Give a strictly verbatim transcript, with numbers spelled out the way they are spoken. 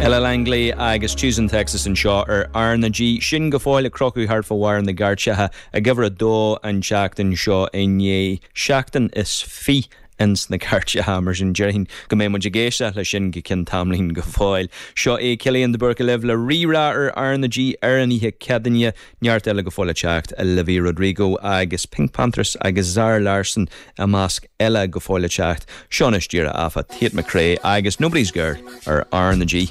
Ella Langley agus Tucson Texas anseo ar R na G sin go fóill ag crochadh thart fá bharr na gcairteacha ag uimhir a dó an tseachtain seo i ndiaidh seachtain is fiche ins na cairteacha mar sin déarfainn go mbeidh muid ag éisteacht leis sin go ceann tamaillín go fóill. Seo é Cillian de Búrca libh le Rí-Rá ar R na G ar an oíche Céadaoine neart eile go fóill le teacht Olivia Rodrigo agus PinkPantheress agus Zara Larsson i measc eile go fóill le teacht. Seo anois díreach afa Tate McRae agus Nobody's Girl ar R na G.